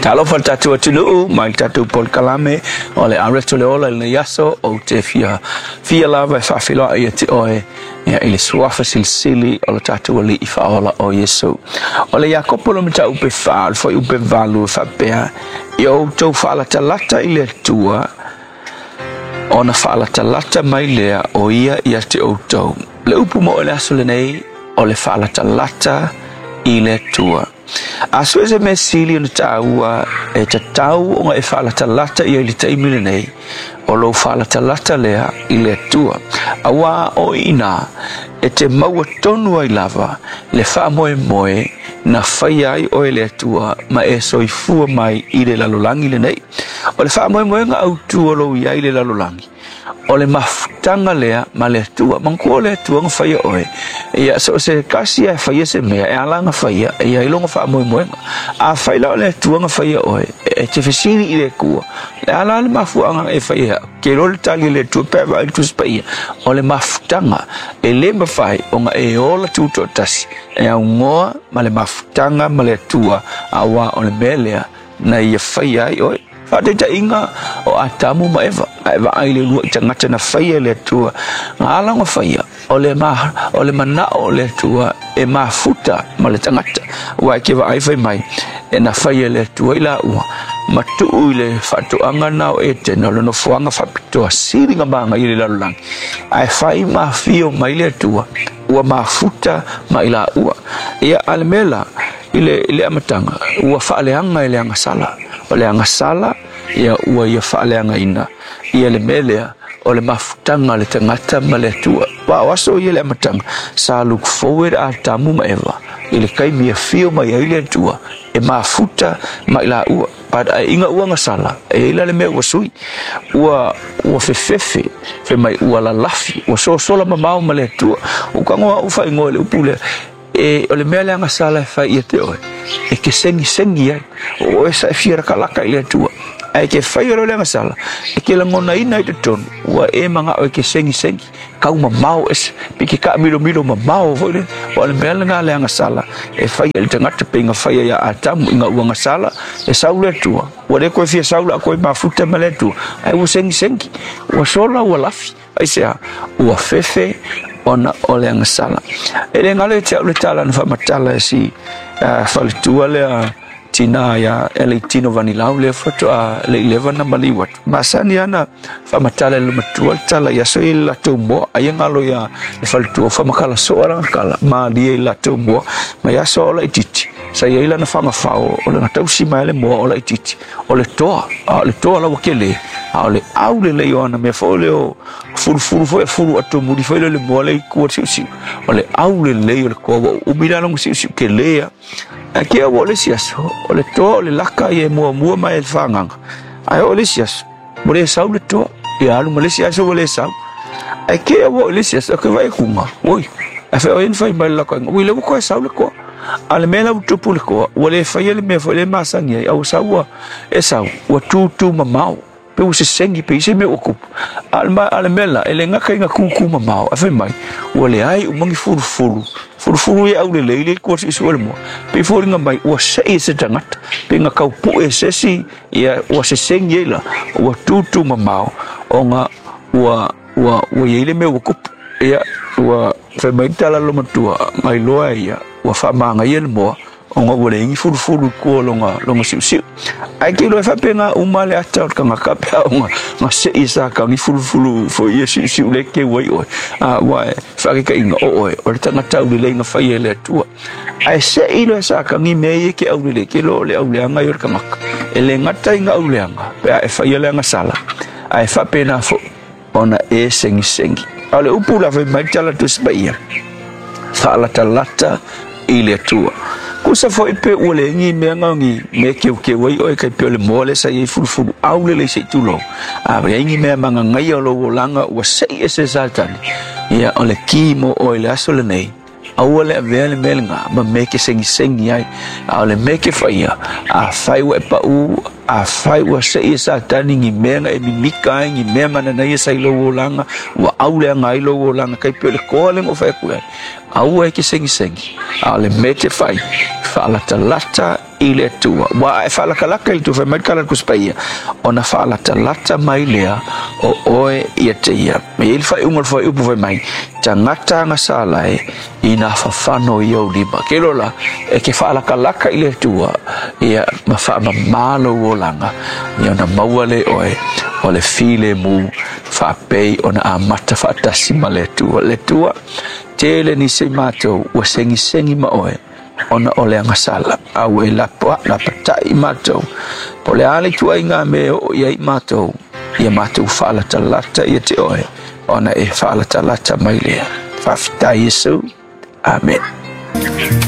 Talofa le tatou atunuu mai le tatou polokalame o le Areto le Ola i lenei aso ou te fia fia lava e faafeiloai ia te oe ia i le suafa silisili o le tatou Alii Faaola o Iesu. O le Iakopo le mataupu 4, o le fuaiupu 8 e faapea, ia outou faalatalata i le Atua, ona faalatalata mai lea o ia ia te outou. Le upu mo le aso lenei, o le faalatalata i le Atua. A so e se mea sili ona taua e tatau ona e faalatalata ia i le taimi lenei, o lou faalatalata lea i le Atua. Auā o i inā e te maua tonu ai lava le faamoemoe na faia ai oe le Atua ma e soifua mai i le lalolagi lenei. O le faamoemoega autu o lou i ai i le lalolagi, o le mafutaga lea ma le Atua. Manatua o le Atua na faia oe. Ia, so o se tasi lava e faia se mea, e ala ona faia, e i ai lona faamoemoega. Afai la o le Atua na faia oe, e te fesili i le Atua, le a la le mafuaaga e faia ai au? Ke iloa le tali a le Atua pe a vaai i le Tusi Paia, o le mafutaga e le mafai ona e ola tutoatasi, e augoa ma le mafutaga ma le Atua, auā o le mea lea na ia faia ai oe. Faataitaiga o Atamu ma Eva, a e vaai i le uluai tagata na faia e le Atua, na ala ona faia, o le, ma, o le manao o le Atua e mafuta ma le tagata. Ua e ke vaai fai mai, e na faia e le Atua i laua, ma tuu i le faatoaga na o Etena, o le nofoaga faapitoa sili na manaia i le lalolagi. Ae fai ma afio mai le Atua, ua mafuta ma i laua. Ia, a le mea la, I le, i le amataga, ua faaleaga e le agasala. O le agasala, ia, ua ia faaleagaina ia le mea lea o le mafutaga a le tagata ma le Atua. Aua o aso ia i le amataga, sa look forward Atamu ma Eva i le taimi e afio mai ai le Atua e mafuta ma i laua. But ina ua agasala, e i ai la le mea ua sui. Ua, ua fefefe, fai mai ua lalafi, ua sosola mamao ma le Atua. Ua tago au faaigoa i le upu lea, E, o le mea le agasala e fai ia te oe, e ke segiseги ai, o oe sa e fia lakalaka i le Atua. Ae ke faia loa le agasala, e ke lagonaina ai totonu, ua e manao e ke segisegi, kau mamao ese, pe ke kaamilomilo mamao foi lele. Aua o le mea lena le agasala e faia i le tagata pei na faia ia Atamu ina ua agasala, e sau le Atua, ua le toe fia sau la koe mafuta ma le Atua, ae ua segisegi, ua sola ua lafi. Aisea? Ua fefe ona o le agasala. E le galo ia te au le tala na faamatala e si faletua lea tinā ia Eleitino Vanilau lea faatoa le i leva na maliu atu. Masani ana faamatala e le matua le tala i aso i le latou moa. Ai e galo ia le faletua faamatala soa lana tala malie i le latou moa. Mai aso o laitiiti sa i ai lana fagafao o lana tausi mai le moa o laitiiti. O le toa, a o le toa laua kele, a o le au lelei o ana mea foi lea o fulufulu foi e fulu atu muli foi lea le moa lea i tua siusiu. O le au lelei o le toa ua uumi la lona siusiu kele a. Ae ke ua o le isi aso, o le toa o le laka ia e muamua mai e le fagaga. Ae o le isi aso, ua le sau le toa, ia alu ma le isi aso ua le sau. Ae ke ua o le isi aso, ke vaai atu nga, oi, ae fai oi na fai mai le laka inga, ui lea ua toe sau le toa. A le mea la ua tupu i le toa, ua le faia le mea foi lea e masani ai, a ua sau ua, e sau, ua tūtū mamao, pe ua sesegi pe i se mea ua tupu. A o le, a le mea la, e le gata ina tūtū mamao, ae fai mai, ua leai uma ni fulufulu, fulufulu ia aulelei lea i tua suesue le moa, pei foliga mai ua sei e se tagata, pe na tau pue e se isi, ia ua sesegi ai la, ua tūtū mamao, ona ua, ua, ua i ai le mea ua tupu. Ia, ua fai mai le tala a le matua, na iloa e ia, ua faamagaia le moa, ona ua leai ni fulufulu i tua o lona, lona siusiu. Ae ke iloa e faapena uma le ata o le tagata pe a ona na sei e Satani fulufulu foi ia siusiu lea e keu ai oe. A, ua e faataitaiga o oe, o le tagata aulelei na faia e le Atua. Ae sei loa e Satani mea ia e ke aulelei, ke iloa o le auleaga ia o le tagata. E le gata i na auleaga, pe a e faia le agasala, ae faapena foi ona e segisegi. A o le upu la fai mai le tala Tusi Paia, faalatalata i le Atua. Kusa foi pe ua leai ni mea na o ni mea keukeu ai oe kai pei o le moa lea sa i ai fulufulu au lelei se i tulou. A leai ni mea magagaia o lou olaga ua sei ese e Satani, ia o le ki mo oe i le aso lenei, aua le avea le mea lena ma mea e ke segisegi ai, a o le mea e ke faia, afai ua e pau Afai ua seʻi e Satani ni mea na e mimika ai, ni mea mananaia sa i lou olaga, ua auleaga ai lou olaga, tai pei o le toa lea na ou fai atu ai, aua e te segisegi, a o le mea e te fai, faalatalata i le Atua. Ua a e faalatalata i le Atua, fai mai le tala a le Tusi Paia, ona faalatalata mai lea o oe ia te ia. E i ai le faaiuga o le fuaiupu fai mai, tagata agasala e, ina fafano i ou lima. Ke lola, e ke faalatalata i le Atua, ia ma faamamā lou olaga, ia ona maua lea e oe o le filemu faapei ona amata faatasi ma le Atua. Le Atua, tele nisi o i matou ua segisegi ma oe, ona o le agasala, a ua e lapatai i matou. Po o le a le ituaiga mea e oo i ai i matou, ia matou faalatalata ia te oe, ona e faalatalata mai lea. Faafetai Iesu. Amene.